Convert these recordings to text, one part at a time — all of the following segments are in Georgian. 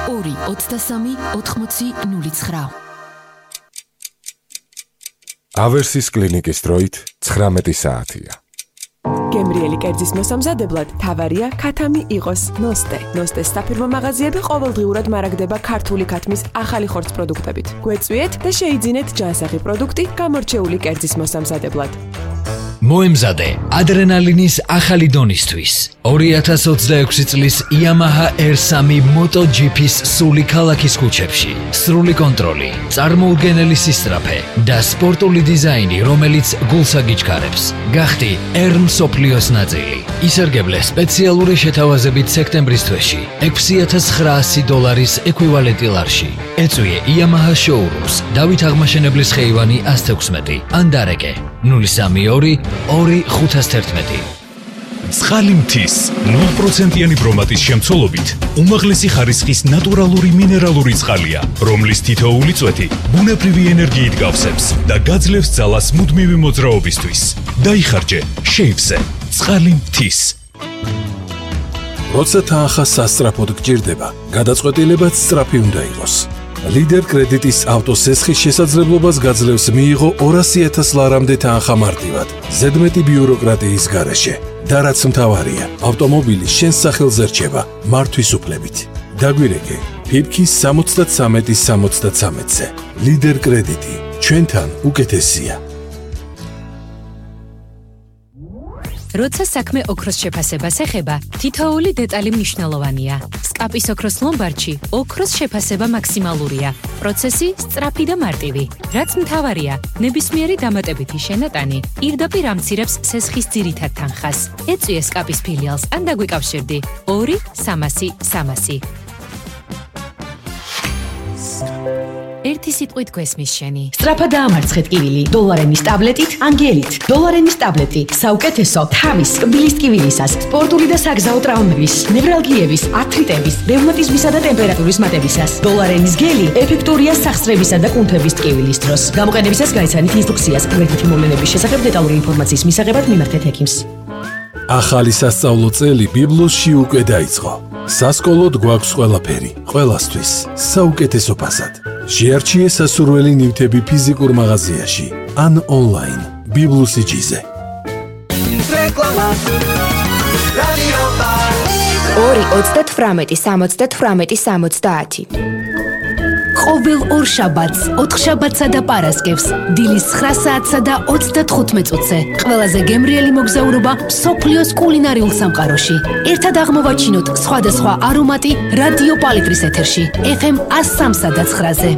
223-80-09. ავერსის კლინიკის დროით 19 საათია. გემრიელი კერძის მოსამზადებლად თავარია ქათამი იყოს ნოსტე. ნოსტეს საფირმო მაღაზიები ყოველდღიურად მარაგდება ქართული ქათმის ახალი ხორცს პროდუქტებით. გვეწვიეთ და შეიძინეთ ჯანსაღი პროდუქტი გამორჩეული კერძის მოსამზადებლად. მოემზადე ადრენალინის ახალი დონისთვის 2026 წლის Yamaha R3 MotoGP-ს სული ქალაქის ქუჩებში. სრული კონტროლი, წარმოუდგენელი სისწრაფე და სპორტული დიზაინი, რომელიც გულს აგიჩქარებს. გახდი R მსოფლიოს ნაწილი. ისარგებლე სპეციალური შეთავაზებით სექტემბრის თვეში $6,900 ეკვივალენტი ლარში. ეწვიე Yamaha showrooms, დავით აღმაშენებლის ხეივანი 116 ან დარეკე 032 2-511. წყალი მთის 0%-იანი ბრომატის შემცველობით უმაღლესი ხარისხის ნატურალური მინერალური წყალია, რომლის თითოეული წვეთი ბუნებრივი ენერგიით გავსებს და გაძლევს ძალას მუდმივი მოძრაობისთვის. დაიხარჯე შეივსე წყალი მთის. როცა თანხა სასწრაფოდ გჭირდება, გადაწყვეტილებაც სწრაფი უნდა იყოს. ლიდერ კრედიტის ავტოსესხის შესაძლებლობას გაძლევს მიიღო 200,000 ლარამდე თანხა მარტივად, ზედმეტი ბიუროკრატიის გარეშე. და რაც მთავარია, ავტომობილი შენს სახელზე რჩება მართვის უფლებით. დაგვირეკე ფიფქის 73-73-ზე. ლიდერ კრედიტი ჩვენთან უკეთესია. როცა საქმე ოქროს შეფასებას ეხება, თითოეული დეტალი მნიშვნელოვანია. სკაპის ოქროს ლომბარდში ოქროს შეფასება მაქსიმალურია. პროცესი სწრაფი და მარტივი. რაც მთავარია, ნებისმიერი დამატებითი შენატანი პირდაპირ ამცირებს სესხის ძირითად თანხას. ეწვიე სკაპის ფილიალს ან დაგვიკავშირდი 2-300-300. ერთი სიტყვით გვესმის შენი. სწრაფად დაამარცხეთ კივილი დოლარენის ტაბლეტით, ანგელით. დოლარენის ტაბლეტი საუკეთესო თავის, კბილის ტკივილისას, სპორტული და საგზაო ტრავმების, ნევრალგიების, ართრიტების, რევმატიზმისა და ტემპერატურის მატებისას. დოლარენის გელი ეფექტურია სახსრებისა და კუნთების ტკივილის დროს. გამოყენებისას გაიცანით ინსტრუქციას. გვერდითი მოვლენების შესახებ დეტალური ინფორმაციის მისაღებად მიმართეთ ექიმს. ახალი სასწავლო წელი ბიბლოსში უკვე დაიწყო. სასკოლოდ გვაქვს ყველაფერი, ყველასთვის, საუკეთესო ფასად. შეარჩიე სასურველი ნივთები ფიზიკურ მაღაზიაში ან ონლაინ ბიბლუსიჯიზე. 2-28-78-70. ყოველ ორ შაბათს, 4 შაბათსა და პარასკევს, დილის 9 საათსა და 35 წუთზე. ყველაზე გემრიელი მოგზაურობა მსოფლიოს კულინარიულ სამყაროში. ერთად აღმოვაჩინოთ სხვადასხვა არომატი რადიო პალიტრის ეთერში, FM 103.9-ზე.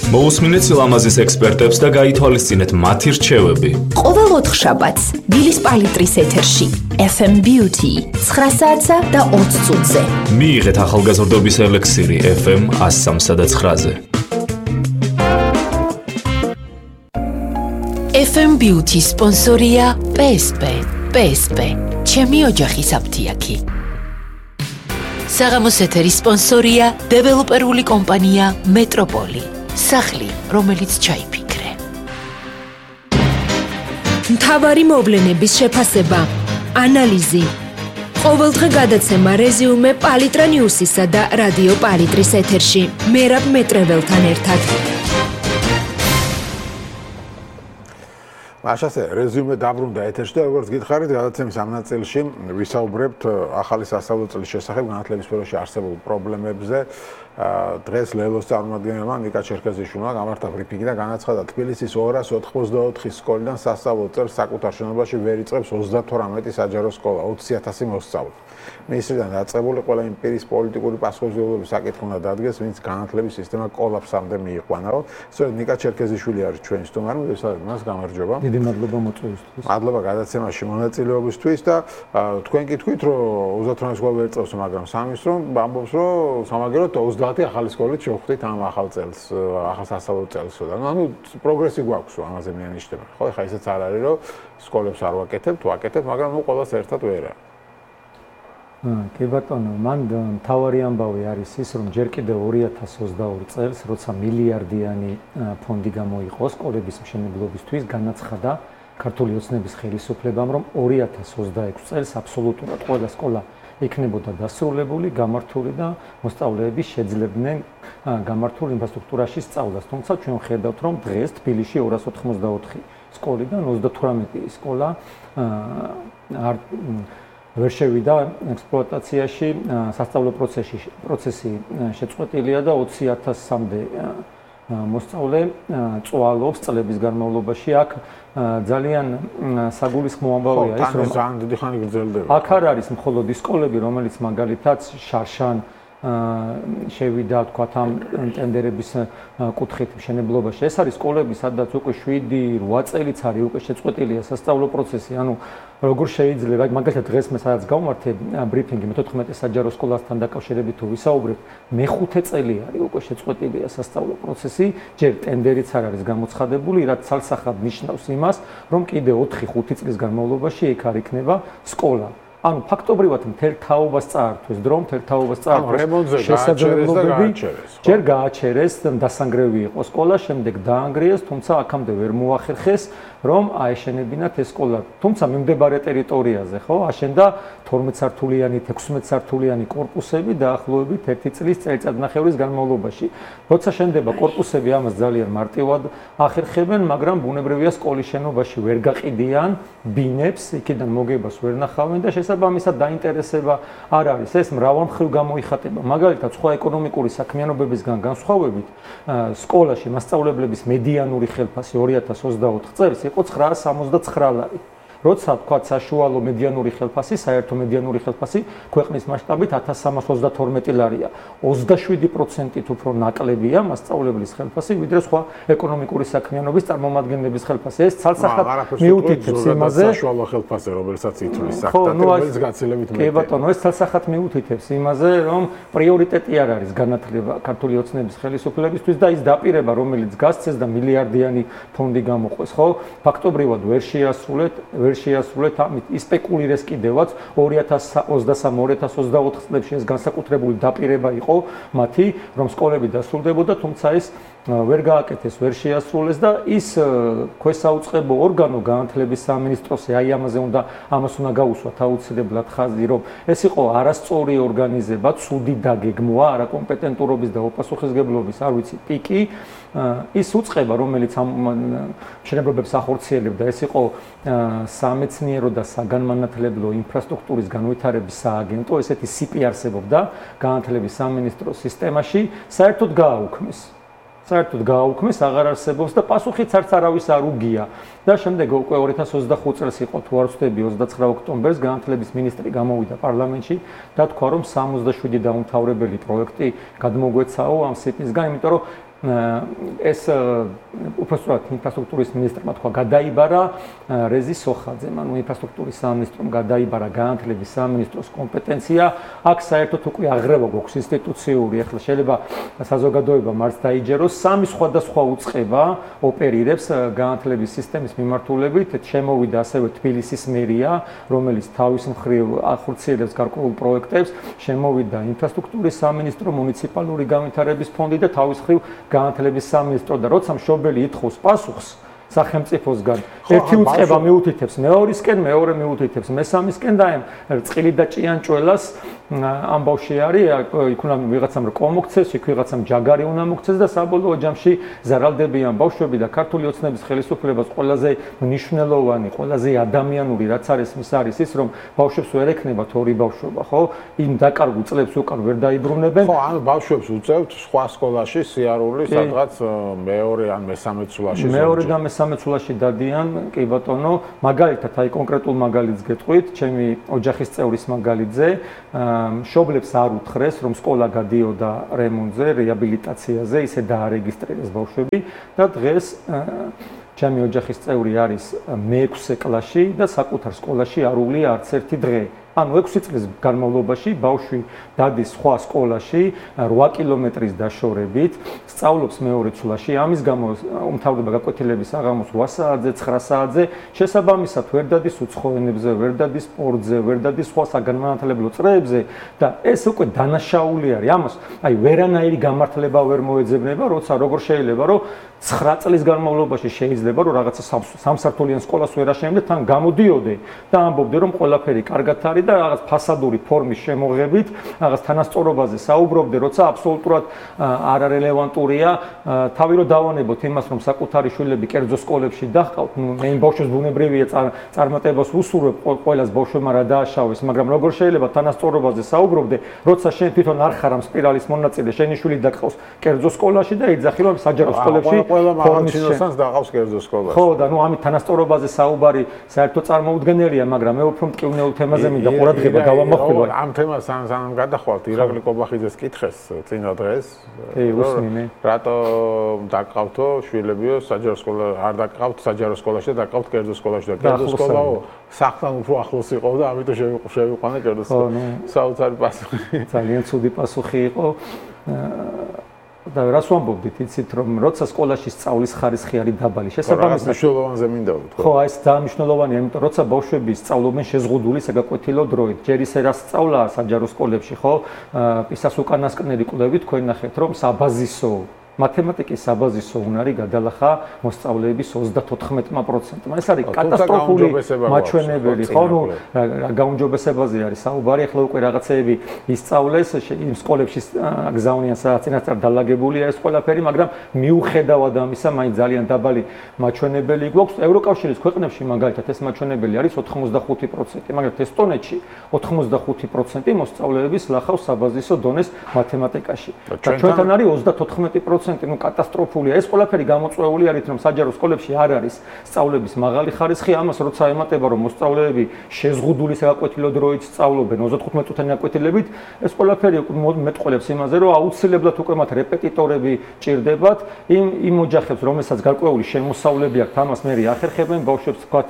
მოусმინეთ სილამაზის ექსპერტებს და გაითვალისწინეთ მათი რჩევები. ყოველ 4 შაბათს დილის პალიტრის ეთერში FM Beauty 9 საათსა და 20 წუთზე. მიიღეთ ახალგაზრდობის ელექსირი FM 103.9-ზე. FM Beauty სპონსორია PSP. PSP. ჩემი ოჯახის აფთიაქი. საღამოს ეთერის სპონსორია დეველოპერული კომპანია მეტროპოლი. სახლი, რომელიც ჩაიფიქრე. მთავარი მოვლენების შეფასება, ანალიზი. ყოველდღე გადაცემა რეზიუმე პალიტრა ნიუსისა და რადიო პალიტრის ეთერში. მერაბ მეტრეველთან ერთად. მაშასე რეზიუმე დაბრუნდა ეთერში და როგორც გითხარით, გადაცემის ამ ნაწილში ვისაუბრებთ ახალი სასწავლო წლის შესახებ განათლების სფეროში არსებულ პრობლემებზე. დღეს ლელოს წარმომადგენელმა ნიკა ჩერქეზიშვილმა გამართა ბრიფინგი და განაცხადა, თბილისის 284 სკოლიდან სასწავლო წელს საკუთარ შენობაში ვერ იწყებს 38 საჯარო სკოლა, 20,000 მოსწავლე. მინისტრიდან დაწყებული ყველა იმ პირის პოლიტიკური პასუხისმგებლობის საკითხი უნდა დადგეს, ვინც განათლების სისტემა კოლაფსამდე მიიყვანა. სწორედ ნიკა ჩერქეზიშვილი არის ჩვენი სტუმარი, მას გამარჯობა. დიდი მადლობა მოწვევისთვის. მადლობა გადაცემაში მონაწილეობისთვის და თქვენ კითხვით, რომ 38 სკოლა ვერ იწყებს, მაგრამ სამის რომ ამბობს, რომ სამაგეროდ 30 ახალი სკოლით შევხვდით ამ ახალ წელს, ახალ სასწავლო წელსო და ანუ პროგრესი გვაქვს, ამაზე მიანიშნება. ხო, ეხლა ისეც არ არის, რომ სკოლებს არ ვაკეთებთ, ვაკეთებთ, მაგრამ ნუ ყველას ერთად ვერ არის. კი ბატონო, მან მთავარი ამბავი არის ის, რომ ჯერ კიდევ 2022 წელს, როცა მილიარდიანი ფონდი გამოიყო სკოლების მშენებლობისთვის, განაცხადა, ქართული ოცნების ხელისუფლებამ, რომ 2026 წელს აბსოლუტურად ყველა სკოლა იქნებოდა დასრულებული, გამართული და მოსწავლეები შეძლებდნენ გამართულ ინფრასტრუქტურაში სწავლას. თუმცა ჩვენ ვხედავთ, რომ დღეს თბილისში 284 სკოლიდან 38 სკოლა ვერ შევიდა ექსპლუატაციაში, სასწავლო პროცესი შეწყვეტილია და 20,000-მდე მოსწავლე წვალობს წლების განმავლობაში. აქ ძალიან საგულისხმო ამბავია ის, რომ ძალიან დიდი ხანი გრძელდება. აქ არ არის მხოლოდ ის სკოლები, რომელიც მაგალითად შარშან შევიდა თქვათ ამ ტენდერების კუთხით მშენებლობაში. ეს არის სკოლები, სადაც უკვე 7-8 წელიც არის უკვე შეწყვეტილია სასწავლო პროცესი. ანუ როგორ შეიძლება, მაგალითად დღეს მე სადაც გავმართე ბრიფინგი მე-14 საჯარო სკოლასთან დაკავშირებით თუ ვისაუბრებ, მე-5 წელი არის უკვე შეწყვეტილია სასწავლო პროცესი, ჯერ ტენდერიც არ არის გამოცხადებული, რაც ცალსახად ნიშნავს იმას, რომ კიდე 4-5 წლის განმავლობაში იქ არ იქნება სკოლა. ანუ ფაქტობრივად მთელ თაობას წაართვეს დრო, მთელ თაობას წაართვეს შესაძლებლობები, ჯერ გააჩერეს, დასანგრევი იყო სკოლა, შემდეგ დაანგრიეს, თუმცა აქამდე ვერ მოახერხეს, რომ აეშენებინათ ეს სკოლა. თუმცა მიმდებარე ტერიტორიაზე, ხო, აშენდა 12 სართულიანი, 16 სართულიანი კორპუსები დაახლოებით 1 წლის წელიწადნახევრის განმავლობაში. როცა შენდება კორპუსები, ამას ძალიან მარტივად ახერხებენ, მაგრამ ბუნებრივია სკოლის შენობაში ვერ გაყიდიან ბინებს, იქიდან მოგებას ვერ ნახავენ და შესაბამისად დაინტერესება არ არის. ეს მრავალმხრივ გამოიხატება. მაგალითად, სხვა ეკონომიკური საქმიანობებისგან განსხვავებით, სკოლაში მასწავლებლების მედიანური ხელფასი 2024 წელს იყო 969 ლარი. როცა თქვა საშუალო მედიანური ხელფასი, საერთო მედიანური ხელფასი ქვეყნის მასშტაბით 1322 ლარია. 27%-ით უფრო ნაკლებია მასწავლებლის ხელფასი, ვიდრე სხვა ეკონომიკური საქმიანობის წარმომადგენლების ხელფასი. ეს ცალსახად მიუთითებს იმაზე, საშუალო ხელფასი, რომელსაც ითვლის საფრთხეს გაცილებით მეტი. კი ბატონო, ეს ცალსახად მიუთითებს იმაზე, რომ პრიორიტეტი არ არის განათლება ქართული ოცნების ხელისუფლებისთვის და ის დაპირება, რომელიც გასცეს და მილიარდიანი ფონდი გამოყვეს, ხო? ფაქტობრივად ვერ შეასრულეთ ამით ისპეკულირეს კიდევაც 2023-2024 წლებში ეს განსაკუთრებული დაპირება იყო მათი, რომ სკოლები დასრულდებოდა, თუმცა ეს ვერ გააკეთეს, ვერ შეასრულეს და ის ქვესაუწყებო ორგანო განათლების სამინისტროსი ამას უნდა გაუსვათ აუცილებლად ხაზი, რომ ეს იყო არასწორი ორგანიზება, ცუდი დაგეგმვა, არაკომპეტენტურობის და უპასუხისმგებლობის, არ ვიცი, პიკი, ის უწყება, რომელიც ამ მშენებლობებს ახორციელებდა, ეს იყო სამეცნიერო და საგანმანათლებლო ინფრასტრუქტურის განვითარების სააგენტო, ესეთი სიპი არსებობდა განათლების სამინისტროს სისტემაში, საერთოდ გააუქმეს, აღარ არსებობს და პასუხიც არც არავის არ უგია. და შემდეგ უკვე 2025 წელს იყო თუ არ ვცდები 29 ოქტომბერს განათლების მინისტრი გამოვიდა პარლამენტში და თქვა, რომ 67 დაუმთავრებელი პროექტი გადმოგვეცაო ამ სიპისგან, იმიტომ რომ ეს უпроსტად ინფრასტრუქტურის მინისტრმა თქვა გადაიბარა რეზი სოხაძემ, ანუ ინფრასტრუქტურის სამინისტრომ გადაიბარა განათლების სამინისტროს კომპეტენცია. აქ საერთოდ უკვე აღრევა გვაქვს ინსტიტუციური, ახლა შეიძლება საზოგადოებამ არც დაიჯეროს, 3 სხვადასხვა უწყება ოპერირებს განათლების სისტემის მიმართულებით. შემოვიდა ასევე თბილისის მერია, რომელიც თავის მხრივ ახორციელებს გარკვეულ პროექტებს, შემოვიდა ინფრასტრუქტურის სამინისტრო, მუნიციპალური განვითარების ფონდი და თავის მხრივ განათლების სამინისტრო და როცა მშობელი ითხოვს პასუხს სახელმწიფოსგან, ერთი უწყება მიუთითებს მეორისკენ, მეორე მიუთითებს მესამისკენ და ამ წყილი და ჭიანჭველას ამბავში არის, იქ უნდა ვიღაცამ რკო მოგცეს, იქ ვიღაცამ ჯაგარი უნდა მოგცეს და საბოლოო ჯამში ზარალდებიან ბავშვები და ქართული ოცნების ხელისუფლებას ყველაზე მნიშვნელოვანი, ყველაზე ადამიანური რაც არის ის არის ის, რომ ბავშვებს ვერ ექნებათ ორი ბავშვობა, ხო? იმ დაკარგულ წლებს უკან ვერ დაიბრუნებენ. ხო, ანუ ბავშვებს უწევთ სხვა სკოლაში სიარული, სადღაც მეორე ან მესამე ცვლაში. მეორე და მესამე ცვლაში დადიან, კი ბატონო, მაგალითად, აი კონკრეტულ მაგალითს გეტყვით, ჩემი ოჯახის წევრის მაგალითზე, მშობლებს არ უთხრეს, რომ სკოლა გადიოდა რემონტზე, რეაბილიტაციაზე, ისე დაარეგისტრირეს ბავშვები და დღეს ჩემი ოჯახის წევრი არის მე-6 კლასში და საკუთარ სკოლაში არ უვლია არც ერთი დღე. ანუ 6 წლის განმავლობაში ბავშვი დადის სხვა სკოლაში 8 კილომეტრის დაშორებით, სწავლობს მეორე ცვლაში, ამის გამო უმთავრდება გაკვეთილების საღამოს 8 საათზე, 9 საათზე, შესაბამისად ვერ დადის უცხო ენებზე, ვერ დადის სპორტზე, ვერ დადის სხვა საგანმანათლებლო წრეებზე და ეს უკვე დანაშაული არის. ამას აი ვერანაირი გამართლება ვერ მოეძებნება, როცა როგორ შეიძლება რომ 9 წლის განმავლობაში შეიძლება რომ რაღაცა სამსართულიან სკოლას ვერ აშენებდე, თან გამოდიოდე და ამბობდე რომ ყველაფერი კარგად არის და რაღაც ფასადური ფორმის შემოღებით, რაღაც თანასწორობაზე საუბრობდე, როცა აბსოლუტურად არარელევანტურია. თავი რომ დავანებოთ იმას, რომ საკუთარი შვილები კერძო სკოლებში დაჰყავთ, ნუ მე იმ ბავშვს ბუნებრივია წარმატებას უსურვებ ყველას ბავშვებმა რა დააშავეს, მაგრამ როგორ შეიძლება თანასწორობაზე საუბრობდე, როცა შენ თვითონ არ ხარ ამ სპირალის მონაწილე, შენი შვილი დაყავს კერძო სკოლაში და იძახი რომ საჯარო სკოლებში ყველა მაღალჩინოსანს დაყავს კერძო სკოლაში. ხო და ნუ ამით თანასწორობაზე საუბარი საერთოდ წარმოუდგენელია, მაგრამ მე უფრო მტკივნეულ თემაზე მინდა ყურადღება გავამახვილო. ამ თემას სანამ გადახვალთ ირაკლი კობახიძეს კითხეს წინა დღეს. უსმინე. რატო დაყავთო შვილებიო საჯარო სკოლა არ დაყავთ საჯარო სკოლაში და დაყავთ კერძო სკოლაში და კერძო სკოლაო სახლთან უფრო ახლოს იყო და ამიტომ შევიყვანე კერძო სკოლა. საოცარი პასუხი. ძალიან ცუდი პასუხი იყო. და რას ვამბობდით, იცით რომ როცა სკოლაში სწავლის ხარისხი არის დაბალი, შესაბამისად მნიშვნელოვანზე მინდა ვთქვა. ხო, ეს ძალიან მნიშვნელოვანია, იმიტომ როცა ბავშვები სწავლობენ შეზღუდული საგაკვეთილო დროით, ჯერ ისე რა სწავლა საჯარო სკოლებში, ხო? პისას უკანასკნელი კვლევით თქვენ ნახეთ, რომ საბაზისო მათემატიკის საბაზისო უნარი გადალახა მოსწავლეების 34%. ეს არის კატასტროფული მაჩვენებელი, ხო? ნუ რა გაუმჯობესებაზე არის საუბარი, ახლა უკვე რაღაცეები ისწავლეს, იმ სკოლებში გზავნიან სადაც წინასწარ დალაგებულია ეს ყველაფერი, მაგრამ მიუხედავად ამისა, მაინც ძალიან დაბალი მაჩვენებელი გვაქვს. ევროკავშირის ქვეყნებში მაგალითად ეს მაჩვენებელი არის 85%, მაგრამ ესტონეთში 85% მოსწავლეების ლახავს საბაზისო დონეს მათემატიკაში. და ჩვენთან არის 34%. ნუ კატასტროფულია. ეს ყველაფერი გამოწვეული არის, რომ საჯარო სკოლებში არ არის სწავლების მაღალი ხარისხი. ამას როცა ემატება, რომ მოსწავლეები შეზღუდული საგაკვეთილო დროით სწავლობენ 35 წუთიანი გაკვეთილებით, ეს ყველაფერი მეტყველებს იმაზე, რომ აუცილებლად უკვე მათ რეპეტიტორები ჭირდებათ, იმ ოჯახებს, რომელსაც გარკვეული შემოსავლები აქვთ, ამას მე ახერხებენ, ბავშვებს თქვათ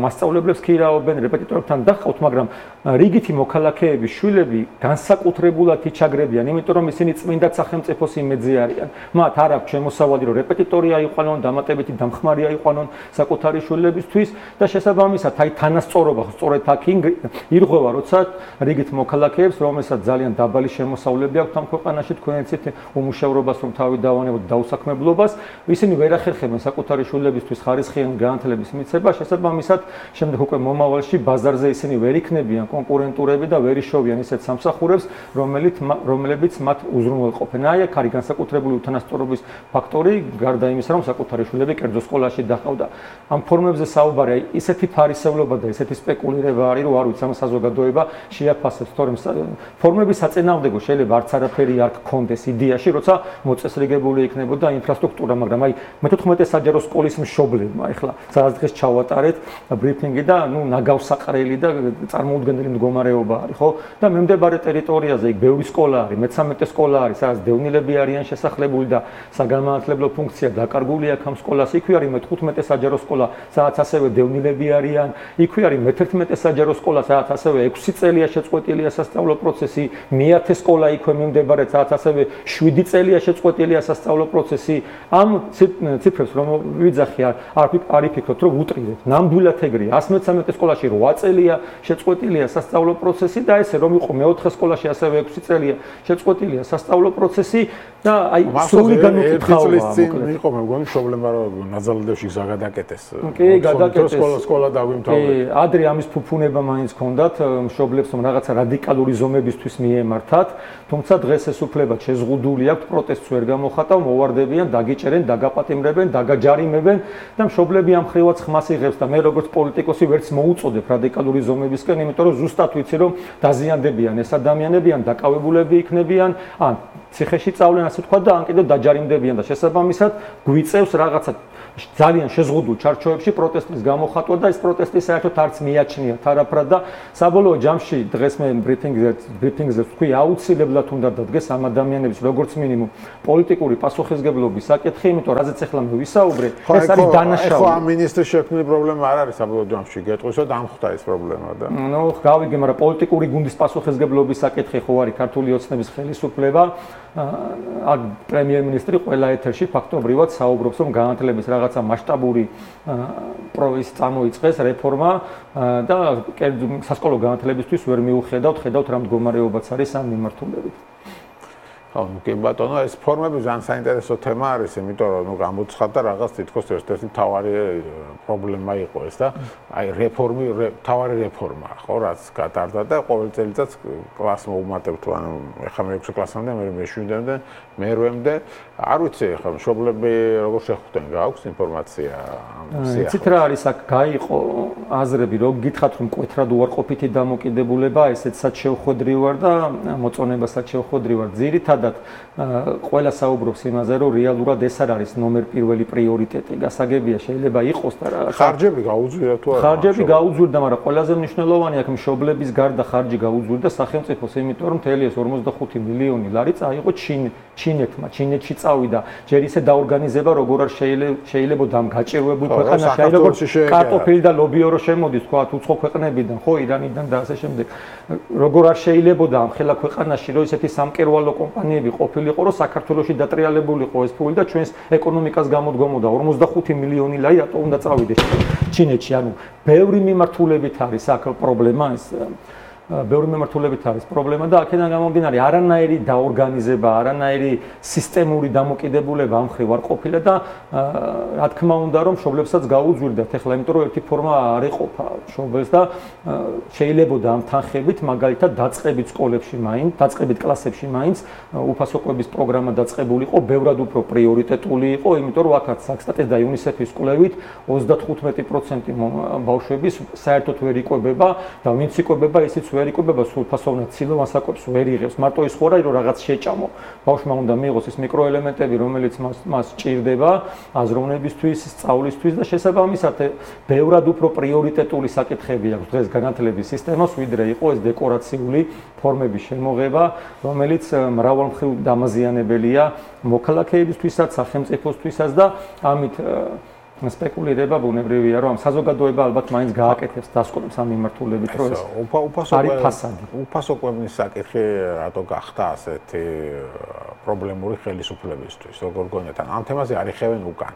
მასწავლებლებს ქირაობენ, რეპეტიტორებთან დაჰყავთ, მაგრამ რიგითი მოქალაქეები, შვილები განსაკუთრებულად იჩაგრებიან, იმიტომ რომ ისინი წმინდა სახელმწიფოს იმედზე არიან. მათ არ აქვს შემოსავალი, რომ რეპეტიტორი აიყვანონ, დამატებითი დამხმარე აიყვანონ საკუთარი შვილებისთვის და შესაბამისად აი თანასწორობა სწორედ აქ ირღვევა, როცა რიგით მოქალაქეებს, რომელსაც ძალიან დაბალი შემოსავლები აქვთ ამ ქვეყანაში, თქვენ იცით უმუშევრობას, რომ თავი დავანებოთ დაუსაქმებლობას, ისინი ვერ ახერხებენ საკუთარი შვილებისთვის ხარისხიანი განათლების მიცემა, შესაბამისად შემდეგ უკვე მომავალში ბაზარზე ისინი ვერ იქნებიან კონკურენტურები და ვერ იშოვიან ისეთ სამსახურებს, რომლებიც მათ უზრუნველყოფენ. აი აქ არის განსაკუთრებული უთანასწორობის ფაქტორი, გარდა იმისა, რომ საკუთარი შვილები კერძო სკოლაში დაჰყავდა. ამ ფორმებზე საუბარი, აი ისეთი ფარისევლობა და ისეთი სპეკულირება არის, რომ არ ვიცი ამ საზოგადოება შეაფასებს, თორემ ფორმების საწინააღმდეგო შეიძლება არც არაფერი არ გქონდეს იდეაში, როცა მოწესრიგებული იქნებოდა ინფრასტრუქტურა, მაგრამ აი მე-14 საჯარო სკოლის მშობლებმა ეხლა სადაც დღეს ჩავატარეთ ბრიფინგი და ნუ ნაგავსაყრელი და წარმოუდგენელი მდგომარეობა არის, ხო? და მიმდებარე ტერიტორიაზე იქ ბევრი სკოლა არის, მე-13 სკოლა არის, სადაც დევნილები არიან შესახლებული და საგანმანათლებლო ფუნქცია დაკარგული აქვს ამ სკოლას. იქვე არის მე-15 საჯარო სკოლა, სადაც ასევე დევნილები არიან. იქვე არის მე-11 საჯარო სკოლა, სადაც ასევე 6 წელია შეწყვეტილია სასწავლო პროცესი. მე-10 სკოლა იქვე მიმდებარე, სადაც ასევე 7 წელია შეწყვეტილია სასწავლო პროცესი. ამ ციფრებს რომ ვიძახი არ იფიქროთ, რომ უტრირეთ. ნამდვილად ეგრეა. 113 სკოლაში 8 წელია შეწყვეტილია სასწავლო პროცესი და ესე რომ იყო მე-4 სკოლაში ასევე 6 წელია შეწყვეტილია სასწავლო პროცესი და აი სრული განუკითხავია. იყო მე მგონი პრობლემა რომ ნაზალდევში გზა გადაკეტეს. კი, გადაკეტეს. სკოლა დავიმთავრეთ. ადრე ამის ფუფუნება მაინც ჰქონდათ მშობლებს, რომ რაღაცა რადიკალური ზომებისთვის მიემართათ, თუმცა დღეს ეს უფლება შეზღუდული აქვს, პროტესტს ვერ გამოხატავ, მოვარდებიან, დაგიჭერენ, დაგაპატიმრებენ, დაგაჯარიმებენ და მშობლები ამ ხრივაც ხმას იღებს და მე როგორც პოლიტიკოსი ვერც მოუწოდებ რადიკალური ზომებისკენ, იმიტომ რომ ზუსტად ვიცი, რომ დაზიანდებიან ეს ადამიანები, ან დაკავებულები იქნებიან, ან ციხეში წავლენ, ასე თქვა და ან კიდევ დაჯარიმდებიან და შესაბამისად გვიწევს რაღაცა ძალიან შეზღუდულ ჩარჩოებში პროტესტის გამოხატვა და ეს პროტესტი საერთოდ არც მიაჩნიათ არაფრად და საბოლოო ჯამში დღეს მე ბრიფინგზე ვთქვი აუცილებლად უნდა დადგეს ამ ადამიანების როგორც მინიმუმ პოლიტიკური პასუხისგებლობის საკითხი, იმიტომ რაზეც ახლა მე ვისაუბრე, ეს არის დანაშაული. ხო, ამ მინისტრის შექმნილი პრობლემა არ არის საბოლოო ჯამში გეტყვისო და ამხდა ეს პრობლემა და. ნუ გავიგე, მაგრამ პოლიტიკური გუნდის პასუხისგებლობის საკითხი ხო არის ქართული ოცნების ხელისუფლება. აქ პრემიერ-მინისტრი ყველა ეთერში ფაქტობრივად საუბრობს, რომ განათლების რაღაცა მასშტაბური პროექტი წამოიწყეს რეფორმა და სასკოლო განათლებისთვის ვერ მიუხედავთ, ხედავთ რა მდგომარეობაც არის ამ მიმართულებით. ხო, კი ბატონო, ეს ფორმები ძალიან საინტერესო თემა არის, იმიტომ რომ ნუ გამოცხადდა რაღაც თითქოს ერთ-ერთი მთავარი პრობლემა იყო ეს და აი მთავარი რეფორმა, ხო, რაც გატარდა და ყოველ წელიწადს კლასს მოუმატებთ, ანუ ეხლა მე-6 კლასამდე, მე მე-7-მდე, მე-8-მდე, არ ვიცი ეხლა მშობლები როგორ შეხვდნენ, გააქვს ინფორმაცია ამ სიახლოვეს. იცით რა არის აქ გაიყო აზრები, რომ გითხრათ რომ მკვეთრად უარყოფითი დამოკიდებულება, ესეც sad შევხვედრი ვარ და მოწონება sad შევხვედრი ვარ. ძირითადად ყველა საუბრობს იმაზე, რომ რეალურად ეს არ არის ნომერ პირველი პრიორიტეტი. გასაგებია, შეიძლება იყოს და რა. ხარჯები გაუძვირდა თუ არა? ხარჯები გაუძვირდა, მაგრამ ყველაზე მნიშვნელოვანი აქ მშობლების გარდა ხარჯი გაუძვირდა სახელმწიფოს, იმიტომ რომ მთელი ეს 45 მილიონი ლარი წაიღო ჩინეთმა, ჩინეთში წავიდა. ჯერ ისე დაორგანიზება, როგორ არ შეიძლება ამ გაჭირვებულ ქვეყანაში, აი როგორ კარტოფილი და ლობიო რო შემოდის, თქვა უცხო ქვეყნებიდან, ხო, ირანიდან და ასე შემდეგ. როგორ არ შეიძლება ამ ხელა ქვეყანაში, რომ ესეთი სამკერვალო კომპანიები ყოფილიყო, რომ საქართველოში დატრიალებულიყო ეს ფული და ჩვენს ეკონომიკას გამოდგომოდა 45 მილიონი ლარი რატო უნდა წავიდეს ჩინეთში. ანუ ბევრი მიმართულებით არის აქ პრობლემა ეს. ბევრი მიმართულებით არის პრობლემა და აქედან გამომდინარე არანაირი დაორგანიზება, არანაირი სისტემური დამოკიდებულება ამ მხრივ არ ყოფილა და რა თქმა უნდა რომ მშობლებსაც გაუძვირდათ ახლა, იმიტომ რომ ერთი ფორმა არ ეყოფა მშობელს და შეიძლებოდა ამ თანხებით მაგალითად დაწყებით სკოლებში მაინც, დაწყებით კლასებში მაინც უფასოყრების პროგრამა დაწყებულიყო, ბევრად უფრო პრიორიტეტული იყო, იმიტომ რომ აქაც საქსტატის და იუნისეფის კვლევით 35% ბავშვების საერთოდ ვერ იკვებება და ვინც იკვებება ისიც ვერ იკვებება, სულ ფასოვნად ცილოვან საკვებს ვერ იღებს. მარტო ის ხო რა, რომ რაღაც შეჭამო. ბავშვმა უნდა მიიღოს ის მიკროელემენტები, რომელიც მას ჭირდება აზროვნებისთვის, სწავლისთვის და შესაბამისად ბევრად უფრო პრიორიტეტული საკითხები აქვს დღეს განათლების სისტემას, ვიდრე იყო ეს დეკორაციული ფორმების შემოღება, რომელიც მრავალმხრივ დამაზიანებელია მოქალაქეებისთვისაც, სახელმწიფოსთვისაც და ამით სპეკულირება ბუნებრივია, რომ საზოგადოება ალბათ მაინც გააკეთებს დასკვნებს ამ მიმართულებით, რომ ეს არის ფასადი. უფასოკვებნის საკითხი რატო გახდა ასეთი პრობლემური ხელისუფლებისთვის, როგორ გონიათ, ამ თემაზე არ იხევენ უკან.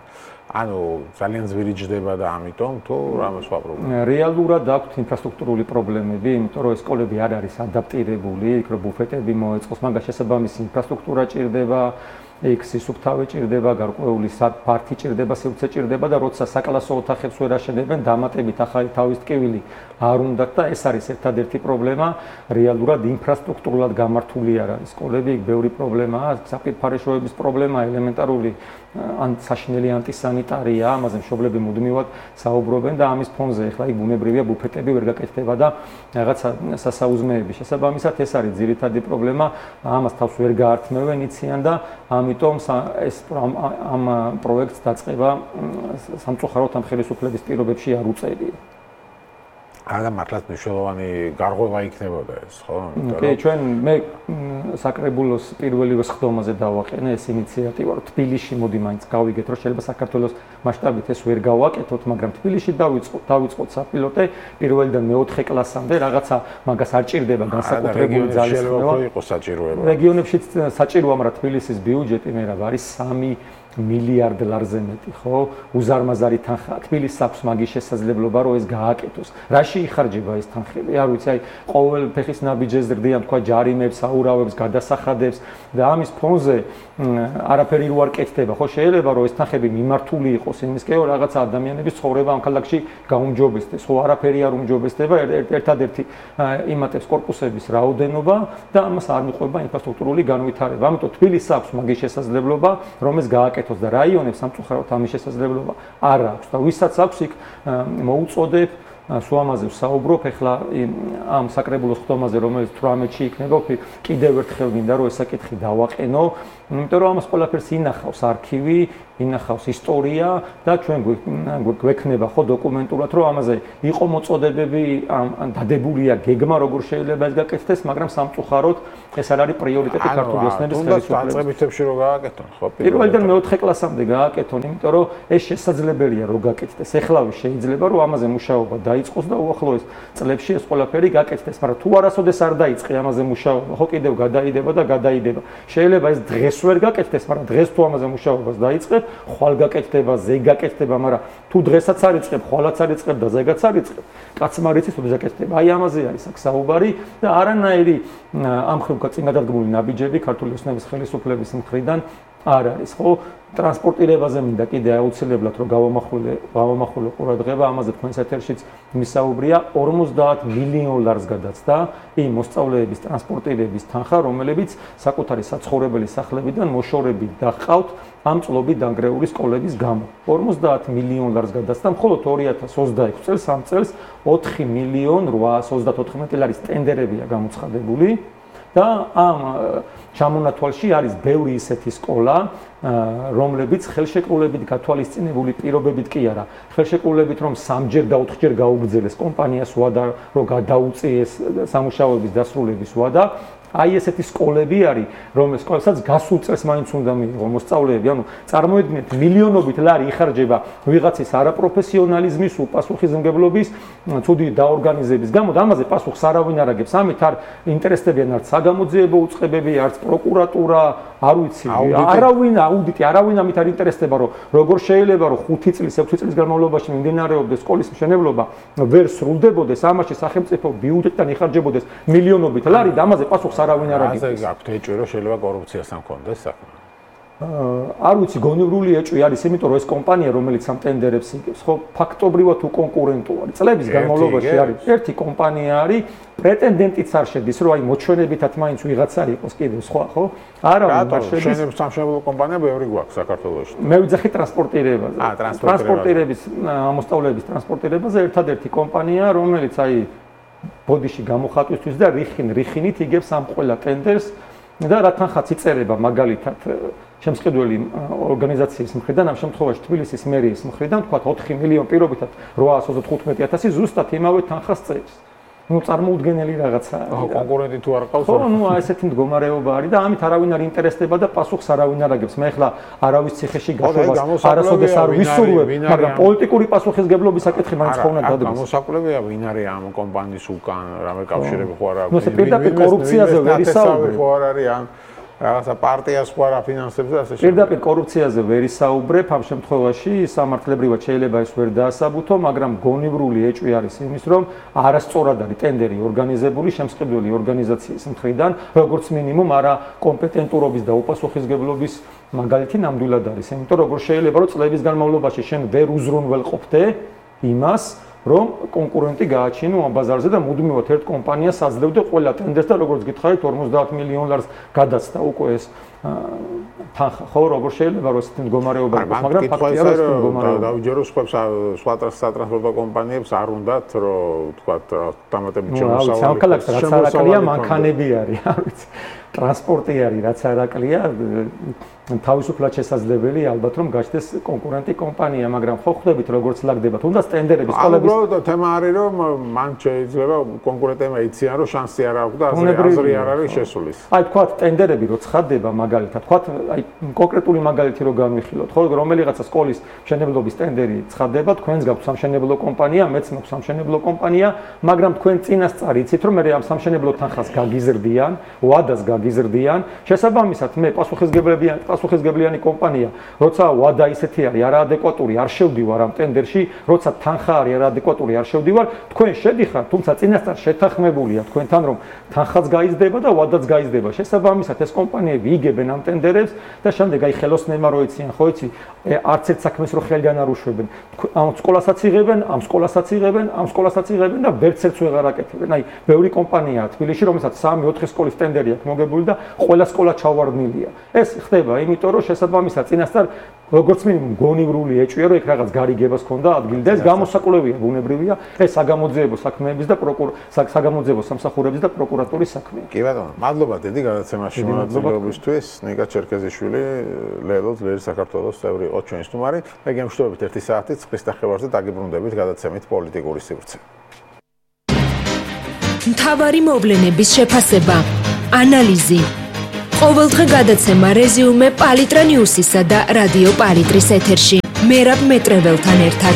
ანუ ძალიან ძვირი ჯდება და ამიტომ თუ რამე სხვა პრობლემა. რეალურად აქვს ინფრასტრუქტურული პრობლემები, იმიტომ რომ ეს სკოლები არ არის ადაპტირებული, იქ რო ბუფეტები მოეწყოს, მაგას შესაბამისი ინფრასტრუქტურა ჭირდება. იქ სისუფთავე ჭირდება, გარკვეული პარკი ჭირდება, სივრცე ჭირდება და როცა საკლასო ოთახებს ვერ აშენებენ, დამატებით ახალი თავის ტკივილი არ უნდათ და ეს არის ერთადერთი პრობლემა. რეალურად ინფრასტრუქტურულად გამართული არ არის სკოლები, იქ ბევრი პრობლემაა, საფირფარეშოების პრობლემა, ელემენტარული საშინელი ანტისანიტარია, ამაზე მშობლები მუდმივად საუბრობენ და ამის ფონზე ახლა იქ ბუნებრივია ბუფეტები ვერ გაკეთდება და რაღაცა სასაუზმეები. შესაბამისად ეს არის ძირითადი პრობლემა, ამას თავს ვერ გაართმევენ იციან და ამიტომ ეს ამ პროექტს დაწყება სამწუხაროდ ამ ხელისუფლების პირობებში არ უწერია. არა მართლაც მნიშვნელოვანი გარღვევა იქნებოდა ეს, ხო? კი, ჩვენ მე საკრებულოს პირველივე სხდომაზე დავაყენე ეს ინიციატივა, რომ თბილისში მოდი მაინც გავიგეთ, რომ შეიძლება საქართველოს მასშტაბით ეს ვერ გავაკეთოთ, მაგრამ თბილისში დავიწყოთ საპილოტე პირველიდან მე-4 კლასამდე, რაღაცა მაგას არ ჭირდება განსაკუთრებული ძალისხმევა. იყოს საჭიროება. რეგიონებში საჭიროა, მაგრამ თბილისის ბიუჯეტი მე რა არის 3 მილიარდ ლარზე მეტი, ხო? უზარმაზარი თანხა. თბილისს აქვს მაგის შესაძლებლობა, რომ ეს გააკეთოს. რაში იხარჯება ეს თანხები? არ ვიცი, აი ყოველ ფეხის ნაბიჯზე ზრდიან, თქვა ჯარიმებს, აურავებს, გადასახადებს და ამის ფონზე არაფერი რო არ კეთდება, ხო? შეიძლება რომ ეს თანხები მიმართული იყოს იმისკენ, რომ რაღაცა ადამიანების ცხოვრება ამ ქალაქში გაუმჯობესდეს, ხო? არაფერი არ უმჯობესდება, ერთადერთი იმატებს კორპუსების რაოდენობა და ამას არ მიყვება ინფრასტრუქტურული განვითარება. ამიტომ თბილისს აქვს მაგის შესაძლებლობა, რომ ეს გააკეთოს და რაიონებს სამწუხაროდ ამის შესაძლებლობა არ აქვს და ვისაც აქვს იქ მოუწოდებ სულ ამაზე ვსაუბრობ ახლა ამ საკრებულოს ხდომაზე, რომელიც 18-ში იქნება, კიდევ ერთხელ მინდა რომ ეს საკითხი დავაყენო, იმიტომ რომ ამას ყველაფერს ინახავს არქივი, ინახავს ისტორია და ჩვენ გვექნება ხო დოკუმენტურად რომ ამაზე იყო მოწოდებები დადებულია გეგმა როგორ შეიძლება ეს გაკეთდეს, მაგრამ სამწუხაროდ ეს არ არის პრიორიტეტი ქართული ოცნების ხელისუფლების. დაწყებითებში რო გააკეთონ, ხო? პირველიდან მეოთხე კლასამდე გააკეთონ, იმიტომ რომ ეს შესაძლებელია რომ გაკეთდეს. ეხლავე შეიძლება რომ ამაზე მუშაობა დაიწყოს და უახლოეს წლებში ეს ყველაფერი გაკეთდეს, მაგრამ თუ არასოდეს არ დაიწყე ამაზე მუშაობა, ხო კიდევ გადაიდება და გადაიდება. შეიძლება ეს დღეს ვერ გაკეთდეს, მაგრამ დღეს თუ ამაზე მუშაობას დაიწყებ, ხვალ გაკეთდება, ზეგ გაკეთდება, მაგრამ თუ დღესაც არ იწყებ, ხვალაც არ იწყებ და ზეგაც არ იწყებ, კაცმა არ იცის, როდის გაკეთდება. აი ამაზე არის აქ საუბარი და არანაირი ამ ხრივ წინ გადადგმული ნაბიჯები ქართული ოცნების ხელისუფლების მხრიდან არ არის, ხო? ტრანსპორტირებაზე მინდა კიდე აუცილებლად რომ გავამახვილო ყურადღება, ამაზე თქვენს ეთერშიც მისაუბრია, 50 მილიონ ლარს გადაცდა იმ მოსწავლეების ტრანსპორტირების თანხა, რომელებიც საკუთარი საცხოვრებელი სახლებიდან მოშორებით დაჰყავთ ამ წლობით დანგრეული სკოლების გამო. 50 მილიონ ლარს გადაცდა, მხოლოდ 2026 წელს ამ წელს 4 მილიონ 834 ლარის ტენდერებია გამოცხადებული. და ამ ჩამონათვალში არის ბევრი ისეთი სკოლა, რომლებიც ხელშეკრულებით გათვალისწინებული პირობებით კი არა, ხელშეკრულებით რომ 3-ჯერ და 4-ჯერ გაუგრძელეს კომპანიას ვადა, რომ გადაუწიეს სამუშაოების დასრულების ვადა. აი ესეთი სკოლები არის, რომელსაც გასულ წელს მაინც უნდა მიიღო მოსწავლეები, ანუ წარმოიდგინეთ მილიონობით ლარი იხარჯება ვიღაცის არაპროფესიონალიზმის, უპასუხისმგებლობის, ცუდი დაორგანიზების გამო და ამაზე პასუხს არავინ არ აგებს. ამით არ ინტერესდებიან არც საგამოძიებო უწყებები, არც პროკურატურა, არ ვიცი, არავინ ამით არ ინტერესდება, რომ როგორ შეიძლება რომ 5 წლის, 6 წლის განმავლობაში მიმდინარეობდეს სკოლის მშენებლობა, ვერ სრულდებოდეს, ამაში სახელმწიფო ბიუჯეტიდან იხარჯებოდეს მილიონობით ლარი და ამაზე პასუხს არავინ არ აგებს. ასე გაქვთ ეჭვი, რომ შეიძლება კორუფციას ამ კონდეს საქმე. არ ვიცი, გონივრული ეჭვი არის, იმიტომ რომ ეს კომპანია, რომელიც ამ ტენდერებს იგებს, ხო, ფაქტობრივად უკონკურენტო არის. წლების განმავლობაში არის ერთი კომპანია არის, პრეტენდენტიც არ შედის, რომ აი მოჩვენებითად მაინც ვიღაცა იყოს კიდევ სხვა, ხო? არავინ არ შედის. სამშენებლო კომპანია ბევრი გვაქვს საქართველოში. მე ვიძახი ტრანსპორტირებაზე. ტრანსპორტირების მოსწავლეების ტრანსპორტირებაზე ერთადერთი კომპანია, რომელიც აი ბოდიში გამოხატვისთვის და რიხინით იგებს ამ ყველა ტენდერს და რა თანხაც იწერება მაგალითად შემსყიდველი ორგანიზაციის მხრიდან, ამ შემთხვევაში თბილისის მერიის მხრიდან, თქვა 4 მილიონ პირობითად 815,000 ზუსტად იმავე თანხას წერს. ну წარმოუდგენელი რაღაცაა. კონკურენტი თუ არ ყავს? ხო, ну ესეთი მდგომარეობა არის და ამით არავინ არ ინტერესდება და პასუხს არავინ არ აგებს. მე ახლა არავის ციხეში გაშვებას არასოდეს არ ვისურვებ, მაგრამ პოლიტიკური პასუხისგებლობის საკითხი მაინც ხო უნდა დადგეს. გამოსაკლებია ვინ არის ამ კომპანიის უკან, რამე კავშირები ხო არ აქვს? ну ეს პირდაპირ კორუფციაზე ვერ ისაუბრებ. ხო არ არის ან რაღაცა პარტიას ხო არ აფინანსებს და ასე შემდეგ. პირდაპირ კორუფციაზე ვერ ისაუბრებ, ამ შემთხვევაში სამართლებრივად შეიძლება ეს ვერ დაასაბუთო, მაგრამ გონივრული ეჭვი არის იმის, რომ არასწორად არის ტენდერი ორგანიზებული შემსყიდველი ორგანიზაციის მხრიდან, როგორც მინიმუმ არა კომპეტენტურობის და უპასუხისმგებლობის მაგალითი ნამდვილად არის. იმიტომ რომ როგორ შეიძლება რომ წლების განმავლობაში შენ ვერ უზრუნველყოფდე იმას, რომ კონკურენტი გააჩინო ამ ბაზარზე და მუდმივად ერთ კომპანიას აძლევდა ყველა ტენდერს და როგორც გითხარით 50 მილიონ ლარს გადაცდა უკვე ეს თანხა, ხო, როგორ შეიძლება რომ ესეთი მდგომარეობა იყოს, მაგრამ ფაქტია რომ ეს მდგომარეობა. დავიჯერო სხვა სატრანსპორტო კომპანიებს არ უნდათ რომ თქვათ დამატებით შემოსავალი. ნუ სამკალაკს რაც არაკლია მანქანები არის, არ ვიცი. ტრანსპორტი არის, რაც არაკლია, თავისუფლად შესაძლებელი ალბათ რომ გაჩნდეს კონკურენტი კომპანია, მაგრამ ხო ხვდებით როგორც ლაგდება, თუნდაც ტენდერების სკოლების. უბრალოდ თემა არის რომ მან შეიძლება კონკურენტებმა იციან რომ შანსი არ აქვს და აზრი არ არის შესulis. აი თქვათ ტენდერები რო ცხადდება მაგალითად, თქვათ აი კონკრეტული მაგალითი რო განვიხილოთ, ხო, რომელიღაცა სკოლის მშენებლობის ტენდერი ცხადდება, თქვენს გაქვთ სამშენებლო კომპანია, მეც მაქვს სამშენებლო კომპანია, მაგრამ თქვენ წინასწარ იცით რომ მე ამ სამშენებლო თანხას გაგიზრდიან, ვადას გაგიზრდიან, შესაბამისად მე პასუხისმგებლიანი კომპანია, როცა ვადა ისეთი არის არაადეკვატური, არ შევდივარ ამ ტენდერში, როცა თანხა არის არაადეკვატური, არ შევდივარ, თქვენ შედიხართ, თუმცა წინასწარ შეთანხმებულია თქვენთან რომ თანხაც გაიზრდება და ვადაც გაიზრდება. შესაბამისად ეს კომპანიები იგებენ ამ ტენდერებს და შემდეგ აი ხელოსნებმა რო იციან, ხო იცი, არც ერთ საქმეს რო ხელიდან არ უშვებენ. ამ სკოლასაც იღებენ, ამ სკოლასაც იღებენ, ამ სკოლასაც იღებენ და ვერც ერთს ვეღარ აკეთებენ. აი ბევრი კომპანიაა თბილისში, რომელსაც 3-4 სკოლის ტენდერი აქვს მოგებული და ყველა სკოლა ჩავარდნილია. ეს ხდება იმიტომ რომ შესაბამისად წინასწარ როგორც მინიმუმ გონივრული ეჭვია რომ იქ რაღაც გარიგებას ქონდა ადგილი და ეს გამოსაკვლევია ბუნებრივია ეს საგამოძიებო საქმეების და საგამოძიებო სამსახურების და პროკურატურის საქმეა. კი ბატონო, მადლობა დიდი გადაცემაში მონაწილეობისთვის. ნიკა ჩერქეზიშვილი, ლელო ძლიერი საქართველოს წევრი იყო ჩვენი სტუმარი. მე გემშვიდობებით 1 საათით ცხრის დახევარზე დაგიბრუნდებით გადაცემით პოლიტიკური სივრცე. მთავარი მოვლენების შეფასება, ანალიზი. ყოველდღე გადაცემა რეზიუმე პალიტრა ნიუსისა და რადიო პალიტრის ეთერში. მერაბ მეტრეველთან ერთად.